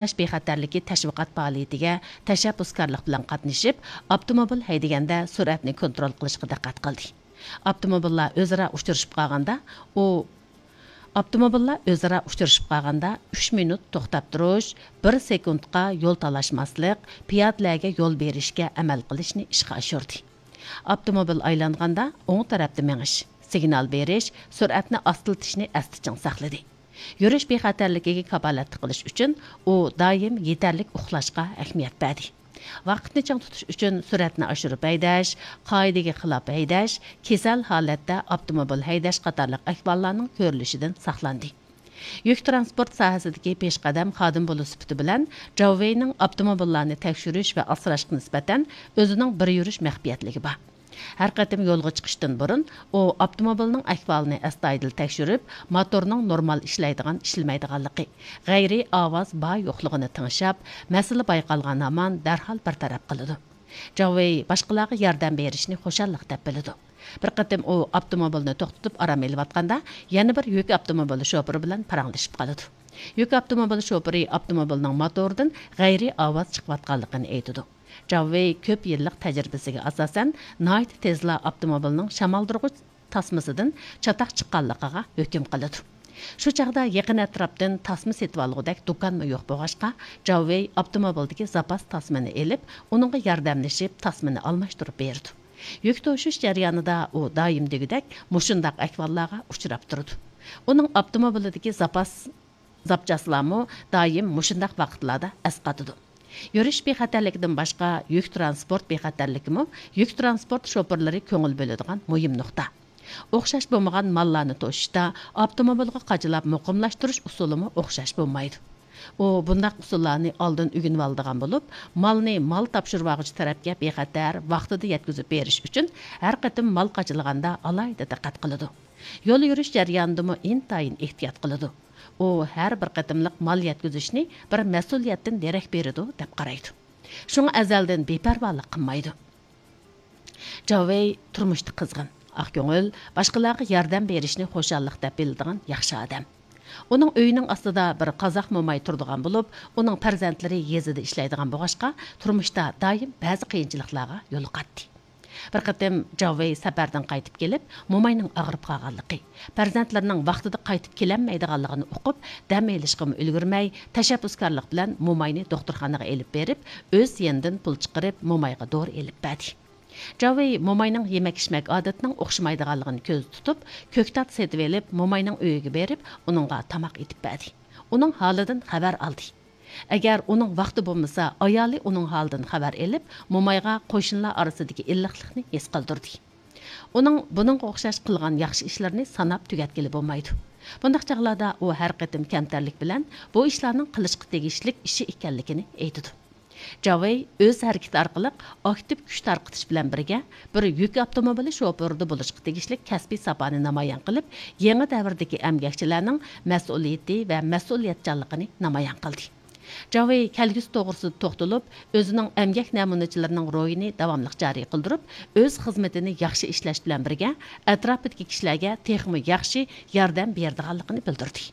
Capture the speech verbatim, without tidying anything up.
ئاسراش بىخەتەرلىكى تەشۋىقات پائالىيىتىگە تەشەببۇسكارلىق بىلەن قاتنىشىپ، ئاپتوموبىل ھەيدىگەندە سۈرئەتنى كونترول قىلىشقا دىققەت قىلدى. ئاپتوموبىللار ئۆزئارا ئۇچرىشىپ قالغاندا، ئۇ ئاپتوموبىللار ئۆزئارا ئۇچرىشىپ قالغاندا، ئۈچ مىنۇت توختاپ تۇرۇش، بىر سېكۇنتقا يول تالاشماسلىق، پىيادىلەرگە يول بېرىشكە ئەمەل قىلىشنى ئىشقا ئاشۇردى. ئاپتوموبىل ئايلانغاندا ئوڭ تەرەپتە مېڭىش، سىگنال بېرىش، سۈرئەتنى ئاستىلىتىشنى ئەستە چىڭ ساقلىدى. يۈرۈش بىخەتەرلىكىگە كاپالەتلىك قىلىش ئۈچۈن ئۇ دائىم يېتەرلىك ئۇخلاشقا ئەھمىيەت بەردى. ۋاقىتنى چىڭ تۇتۇش ئۈچۈن سۈرئەتنى ئاشۇرۇپ ھەيدەش، قائىدىگە خىلاپ ھەيدەش، كېسەل ھالەتتە ئاپتوموبىل ھەيدەش قاتارلىق ئەھۋاللارنىڭ كۆرۈلۈشىدىن ساقلاندى. يۈك تىرانسپورت ساھەسىدىكى پېشقەدەم خادىم بولۇش سۈپىتى بىلەن، جاۋ ۋېينىڭ ئاپتوموبىللارنى تەكشۈرۈش ۋە ئاسراشقا نىسبەتەن ئۆزىنىڭ بىر يۈرۈش مەخپىيەتلىكى بار. ھەر قېتىم يولغا چىقىشتىن بۇرۇن، ئۇ ئاپتوموبىلنىڭ ئەھۋالىنى ئەستايىدىل تەكشۈرۈپ، موتورنىڭ نورمال ئىشلەيدىغان، ئىشلىمەيدىغانلىقى، غەيرىي ئاۋاز بار يوقلۇقىنى تىڭشاپ، مەسىلە بايقالغان ھامان دەرھال بىر تەرەپ قىلىدۇ. جاۋ ۋېي باشقىلارغا ياردەم بېرىشنى خۇشاللىق دەپ بىلىدۇ. بىر قېتىم ئۇ ئاپتوموبىلنى توختىتىپ ئارام ئېلىۋاتقاندا، يەنە بىر يۈك ئاپتوموبىلى شوپۇرى بىلەن پاراڭلىشىپ قالىدۇ. يۈك ئاپتوموبىلى شوپۇرى ئاپتوموبىلنىڭ موتورىدىن غەيرىي ئاۋاز چىقىۋاتقانلىقىنى ئېيتىدۇ. جاۋ ۋېي كۆپ يىللىق تەجرىبىسىگە ئاساسەن، ناھايىتى تېزلا ئاپتوموبىلنىڭ شامالدۇرغۇچ تاسمىسىدىن چاتاق چىققانلىقىغا ھۆكۈم قىلىدۇ. شۇ چاغدا يېقىن ئەتراپتىن تاسما سېتىۋالغۇدەك دۇكانمۇ يوق بولغاچقا، جاۋ ۋېي ئاپتوموبىلدىكى زاپاس تاسمىنى ئېلىپ، ئۇنىڭغا ياردەملىشىپ، تاسمىنى ئالماشتۇرۇپ بېرىدۇ. يۈك توشۇش جەريانىدا ئۇ دائىم دېگۈدەك مۇشۇنداق ئەھۋاللارغا ئۇچراپ تۇرىدۇ. ئۇنىڭ ئاپتوموبىلىدىكى زاپاس زاپچاسلارمۇ دائىم مۇشۇنداق ۋاقىتلاردا ئەسقاتىدۇ. يۈرۈش بىخەتەرلىكىدىن باشقا، يۈك تىرانسپورت بىخەتەرلىكىمۇ يۈك تىرانسپورت شوپۇرلىرى كۆڭۈل بۆلىدىغان مۇھىم نۇقتا. ئوخشاش بولمىغان ماللارنى توشۇشتا ئاپتوموبىلغا قاچىلاپ مۇقىملاشتۇرۇش ئۇسۇلىمۇ ئوخشاش بولمايدۇ. ئۇ بۇنداق ئۇسۇللارنى ئالدىن ئۆگىنىۋالىدىغان بولۇپ، مالنى مال تاپشۇرۇۋالغۇچى تەرەپكە بىخەتەر، ۋاقتىدا يەتكۈزۈپ بېرىش ئۈچۈن ھەر قېتىم مال قاچىلىغاندا ئالاھىدە دىققەت قىلىدۇ. يول يۈرۈش جەريانىدىمۇ ئىنتايىن ئېھتىيات قىلىدۇ. ئۇ ھەر بىر قېتىملىق مال يەتكۈزۈشنى بىر مەسئۇلىيەتتىن دېرەك بېرىدۇ دەپ قارايدۇ. شۇڭا ئەزەلدىن بىپەرۋالىق قىلمايدۇ. جاۋ ۋېي تۇرمۇشتا قىزغىن، ئاق كۆڭۈل، باشقىلارغا ياردەم بېرىشنى خۇشاللىق دەپ بىلىدىغان ياخشى ئادەم. ئۇنىڭ ئۆيىنىڭ ئاستىدا بىر قازاق موماي تۇرىدىغان بولۇپ، ئۇنىڭ پەرزەنتلىرى يېزىدا ئىشلەيدىغان بولغاچقا، تۇرمۇشتا دائىم بەزى قىيىنچىلىقلارغا يولۇقاتتى. بىر قېتىم جاۋ ۋېي سەپەردىن قايتىپ كېلىپ، موماينىڭ ئاغرىپ قالغانلىقى، پەرزەنتلىرىنىڭ ۋاقتىدا قايتىپ كېلەلمەيدىغانلىقىنى ئۇقۇپ، دەم ئېلىشقىمۇ ئۈلگۈرمەي، تەشەببۇسكارلىق بىلەن موماينى دوختۇرخانىغا ئېلىپ بېرىپ، ئۆز يېنىدىن پۇل چىقىرىپ، مومايغا دورا ئېلىپ بەردى. جاۋ ۋېي موماينىڭ يېمەك-ئىچمەك ئادىتىنىڭ ئوخشىمايدىغانلىقىنى كۆزدە تۇتۇپ، كۆكتات سېتىۋېلىپ، موماينىڭ ئۆيىگە بېرىپ، ئۇنىڭغا تاماق ئېتىپ بەردى. ئۇنىڭ ھالىدىن خەۋەر ئالدى. ئەگەر ئۇنىڭ ۋاقتى بولمىسا، ئايالى ئۇنىڭ ھالىدىن خەۋەر ئېلىپ، مومايغا قوشنىلار ئارىسىدىكى ئىللىقلىقنى ھېس قىلدۇردى. ئۇنىڭ بۇنىڭغا ئوخشاش قىلغان ياخشى ئىشلىرىنى ساناپ تۈگەتكىلى بولمايدۇ. بۇنداق چاغلاردا ئۇ ھەر قېتىم كەمتەرلىك بىلەن بۇ ئىشلارنىڭ قىلىشقا تېگىشلىك ئىشى ئىكەنلىكىنى ئېيتىدۇ. جاۋ ۋېي ئۆز ھەرىكىتى ئارقىلىق ئاكتىپ كۈچ تارقىتىش بىلەن بىرگە، بىر يۈك ئاپتوموبىلى شوپۇرىدا بولۇشقا تېگىشلىك كەسپىي ساپانى نامايان قىلىپ، يېڭى دەۋردىكى ئەمگەكچىلەرنىڭ مەسئۇلىيىتى ۋە مەسئۇلىيەتچانلىقىنى نامايان قىلدى. جاۋ ۋېي كەلگۈسى توغرىسىدا توختىلىپ، ئۆزىنىڭ ئەمگەك نەمۇنىچىلىرىنىڭ روھىنى داۋاملىق جارى قىلدۇرۇپ، ئۆز خىزمىتىنى ياخشى ئىشلەش بىلەن بىرگە، ئەتراپىدىكى كىشىلەرگە تېخىمۇ ياخشى ياردەم بېرىدىغانلىقىنى بىلدۈردى.